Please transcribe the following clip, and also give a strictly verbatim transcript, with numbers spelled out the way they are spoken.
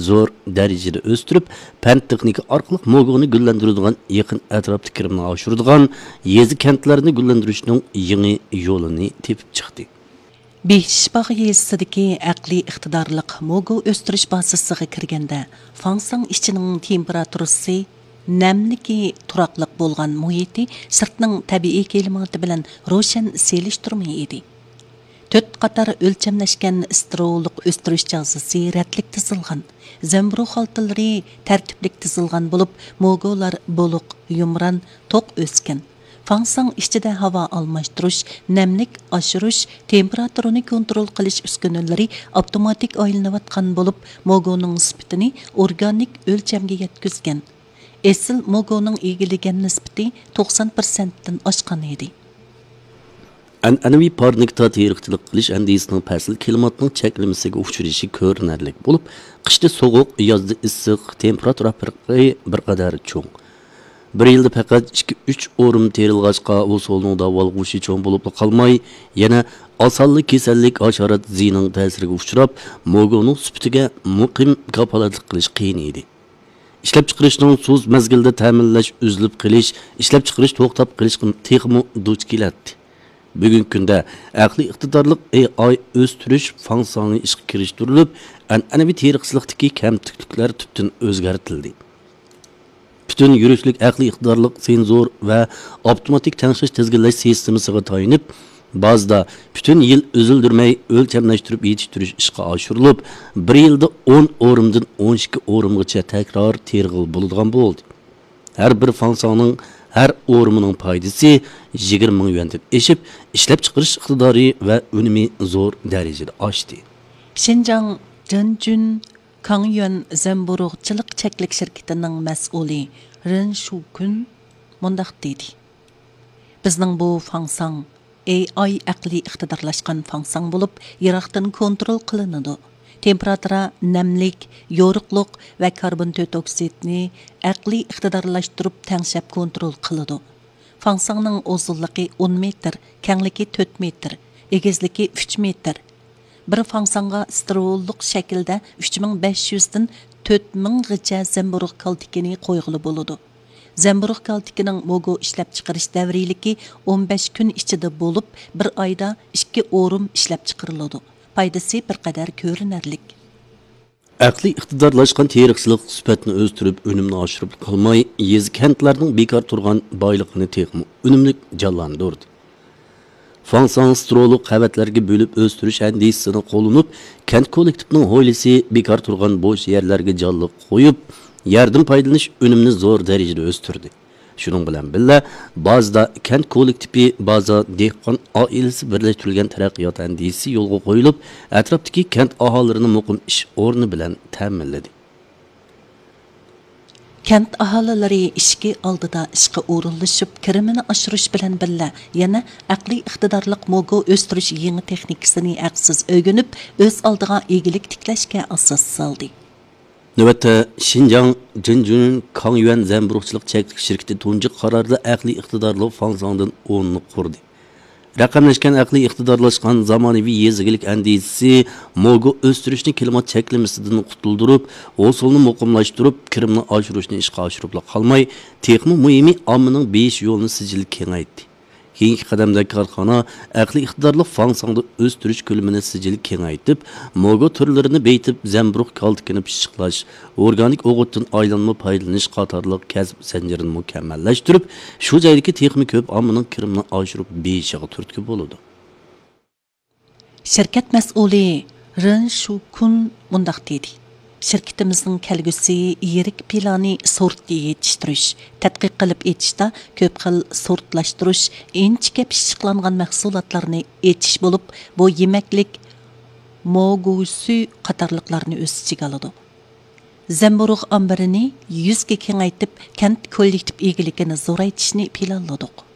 زور دەرىجىدە ئۆستۈرۈپ، پەن تېخنىكا ئارقىلىق موگۇنى گۈللەندۈرىدىغان، يېقىن ئەتراپتا كىرىمنى ئاشۇرىدىغان يېزا كەنتلەرنى گۈللەندۈرۈشنىڭ يېڭى يولىنى تېپىپ چىقتى. بېيشىشباغ يېزىسىدىكى ئەقلىي ئىقتىدارلىق موگۇ ئۆستۈرۈش بازىسىغا كىرگەندە، فاڭساڭ ئىچىنىڭ تېمپېراتۇرىسى، نەملىكى تۇراقلىق بولغان مۇھىتى سىرتنىڭ تەبىئىي كىلىماتى بىلەن روشەن سېلىشتۇرما ئىدى. تۆت قاتار ئۆلچەملەشكەن ستېرېئولۇق ئۆستۈرۈش جازىسى رەتلىك تىزىلغان، زەمبۇرۇغ خالتىلىرى تەرتىپلىك تىزىلغان بولۇپ، موگۇلار بولۇق، يۇمران، توق ئۆسكەن. فاڭساڭ ئىچىدە ھاۋا ئالماشتۇرۇش، نەملىك ئاشۇرۇش، تېمپېراتۇرىنى كونترول قىلىش ئۈسكۈنىلىرى ئاپتوماتىك ئايلىنىۋاتقان بولۇپ، موگۇنىڭ سۈپىتىنى ئورگانىك ئۆلچەمگە يەتكۈزگەن. ئېسىل موگۇنىڭ ئىگىلىگەن نىسبىتى توقسان پىرسەنتتىن ئاشقان ئىدى. ئەنئەنىۋى پارنىكتا تېرىقچىلىق قىلىش ئەندىزىسىنىڭ پەسىل كىلىماتنىڭ چەكلىمىسىگە ئۇچرىشى كۆرۈنەرلىك بولۇپ، قىشتا سوغۇق، يازدا ئىسسىق، تېمپېراتۇرا پەرقى بىر قەدەر چوڭ. بىر يىلدا پەقەت ئىككى، ئۈچ ئورۇم تېرىلغاچقا، ھوسۇلنىڭ داۋالغۇشى چوڭ بولۇپلا قالماي، يەنە ئاسانلا كېسەللىك، ھاشارات زىيىنىنىڭ تەسىرىگە ئۇچراپ، موگۇنىڭ سۈپىتىگە مۇقىم كاپالەتلىك قىلىش قىيىن ئىدى. ئىشلەپچىقىرىشنىڭ سۇس مەزگىلدە تەمىنلەش ئۈزۈلۈپ قېلىش، ئىشلەپچىقىرىش توختاپ قېلىشقا تېخىمۇ دۇچ كېلەتتى. بۈگۈنكى كۈندە ئەقلىي ئىقتىدارلىق ئېي ئاي ئۆستۈرۈش فاڭساڭى ئىشقا كىرىشتۈرۈلۈپ، ئەنئەنىۋى تېرىقچىلىقتىكى كەمتۈكلۈكلەر تۈپتىن ئۆزگەرتىلدى. پۈتۈن يۈرۈشلۈك ئەقلىي ئىقتىدارلىق سېنزور ۋە ئاپتوماتىك تەڭشەش تىزگىنلەش سىستېمىسىغا تايىنىپ، بازىدا پۈتۈن يىل ئۈزۈلدۈرمەي ئۆلچەملەشتۈرۈپ يېتىشتۈرۈش ئىشقا ئاشۇرۇلۇپ، بىر يىلدا ئون ئورۇمدىن ئون ئىككى ئورۇمغىچە تەكرار تېرىغىلى بولىدىغان بولدى. ھەر بىر فاڭساڭنىڭ ھەر ئورۇمىنىڭ پايدىسى يىگىرمە مىڭ يۈەندىن ئېشىپ، ئىشلەپچىقىرىش ئىقتىدارى ۋە ئۈنۈمى زور دەرىجىدە ئاشتى. شىنجاڭ جېنجۈن كاڭيۈەن زەمبۇرۇغچىلىق چەكلىك شىركىتىنىڭ مەسئۇلى رېن شۇكۈن مۇنداق دېدى: بىزنىڭ بۇ فاڭساڭ ئېي ئاي ئەقلىي ئىقتىدارلاشقان فاڭساڭ بولۇپ، يىراقتىن كونترول قىلىنىدۇ. تېمپېراتۇرا، نەملىك، يورۇقلۇق ۋە كاربون تۆت ئوكسىدنى ئەقلىي ئىقتىدارلاشتۇرۇپ تەڭشەپ كونترول قىلىدۇ. فاڭساڭنىڭ ئۇزۇنلۇقى ئون مېتىر، كەڭلىكى تۆت مېتىر، ئېگىزلىكى ئۈچ مېتىر. بىر فاڭساڭغا ستېرېئولۇق شەكىلدە ئۈچ مىڭ بەش يۈزدىن تۆت مىڭغىچە زەمبۇرۇغ كالتىكىنى قويغىلى بولىدۇ. زەمبۇرۇغ كالتىكىنىڭ موگو ئىشلەپچىقىرىش دەۋرىيلىكى ئون بەش كۈن ئىچىدە بولۇپ، بىر ئايدا ئىككى ئورۇم ئىشلەپچىقىرىلىدۇ. پايدىسى بىر قەدەر كۆرۈنەرلىك. ئەقلىي ئىقتىدارلاشقان تېرىقچىلىق سۈپەتنى ئۆستۈرۈپ، ئۈنۈمنى ئاشۇرۇپ قالماي، يېزا، كەنتلەرنىڭ بىكار تۇرغان بايلىقىنى تېخىمۇ ئۈنۈملۈك جانلاندۇردى. فاڭساڭ ستېرېئولۇق قەۋەتلەرگە بۆلۈپ ئۆستۈرۈش ئەندىزىسىنى قوللىنىپ، كەنت كوللېكتىپىنىڭ ھويلىسى، بىكار تۇرغان بوش يەرلەرگە جانلىق قويۇپ، يەردىن پايدىلىنىش ئۈنۈمىنى زور دەرىجىدە ئۆستۈردى. شۇنىڭ بىلەن بىللە، بازىدا كەنت كوللېكتىپى، بازا دېھقان ئائىلىسى بىرلەشتۈرۈلگەن تەرەققىيات ئەندىزىسى يولغا قويۇلۇپ، ئەتراپتىكى كەنت ئاھالىلىرىنى مۇقىم ئىش ئورنى بىلەن تەمىنلىدى. كەنت ئاھالىلىرى ئىشىكى ئالدىدا ئىشقا ئورۇنلىشىپ، كىرىمىنى ئاشۇرۇش بىلەن بىللە، يەنە ئەقلىي ئىقتىدارلىق موگو ئۆستۈرۈش يېڭى تېخنىكىسىنى ھەقسىز ئۆگىنىپ، ئۆز ئالدىغا ئىگىلىك تىكلەشكە ئاساس سالدى. نۆۋەتتە، شىنجاڭ جىنجۈن كاڭيۈەن زەمبۇرۇغچىلىق چەكلىك شىركىتى تۇنجى قاراردا ئەقلىي ئىقتىدارلىق فاڭساڭدىن ئوننى قۇردى. رەقەملەشكەن ئەقلىي ئىقتىدارلاشقان زامانىۋى يېزا ئىگىلىك ئەندىزىسى موگو ئۆستۈرۈشنى كىلىمات چەكلىمىسىدىن قۇتۇلدۇرۇپ، ھوسۇلنى مۇقىملاشتۇرۇپ، كىرىمنى ئاشۇرۇشنى ئىشقا ئاشۇرۇپلا قالماي، تېخىمۇ مۇھىمى، ئاممىنىڭ بېيىش يولىنى سىجىل كېڭەيتتى. كېيىنكى قەدەمدە كارخانا ئەقلىي ئىقتىدارلىق فاڭساڭدا ئۆستۈرۈش كۆلىمىنى سىجىل كېڭەيتىپ، موگو تۈرلىرىنى بېيىتىپ، زەمبۇرۇغ كالتىكىنى پىششىقلاش، ئورگانىك ئوغۇتتىن ئايلانما پايدىلىنىش قاتارلىق كەسىپ زەنجىرىنى مۇكەممەللەشتۈرۈپ، شۇ جايدىكى تېخىمۇ كۆپ ئاممىنىڭ كىرىمىنى ئاشۇرۇپ بېيىشىغا تۈرتكە بولىدۇ. شىركەت مەسئۇلى رېن شۇكۈن مۇنداق دېدى: شىركىتىمىزنىڭ كەلگۈسى يىرىك پىلانى سورت يېتىشتۈرۈش، تەتقىق قىلىپ ئېچىشتا كۆپ خىل سورتلاشتۇرۇش، ئىنچىكە پىششىقلانغان مەھسۇلاتلارنى ئېچىش بولۇپ، بۇ يېمەكلىك، موگۇسۈ قاتارلىقلارنى ئۆز ئىچىگە ئالىدۇ. زەمبۇرۇغ ئامبىرىنى يۈزگە كېڭەيتىپ، كەنت كوللېكتىپ ئىگىلىكىنى زورايتىشنى پىلانلىدۇق.